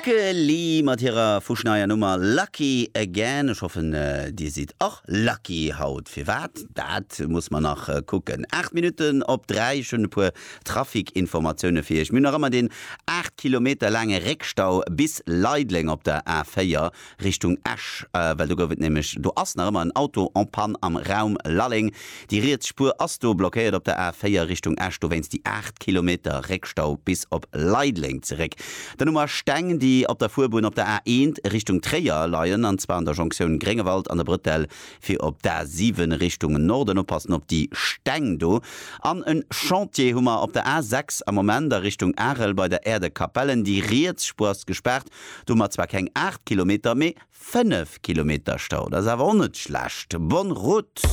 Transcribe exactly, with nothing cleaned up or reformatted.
Lykke Li mat hirer fuschneier Nummer Lucky Again. Ech hoffen, dir sidd och lucky haut. Firwat? Dat muss mer nach kucken. Aacht Minutten op dräi. Ech hunn e puer Traficinformatioune fir iech. Mir hunn nach ëmmer deen aacht Kilometer laange Réckstau bis Leideleng op der A véier Richtung Esch, well do gouf et nämlech, do ass nach ëmmer en Auto en panne am Raum Lalleng. Déi riets Spuer ass do blockéiert op der A véier Richtung Esch, dowéinst déi aacht Kilometer Réckstau bis op Leideleng zeréck. Dann hu mer Steng, déi op der Fuerbunn op der A eent Richtung Tréier leien, an zwar an der Jonktioun Gréngewald an der Brëtell fir op d'A siwen Richtung Norden. Oppassen op déi Steng do. An en Chantier hu mer op der A sechs am Moment a Richtung Arel bei der Aire de Capellen. Déi riets Spuer ass gespaart. Do hu mer zwar keng aacht Kilometer, mee fënnef Kilometer Stau. Dat ass awer och net schlecht. Bonne route!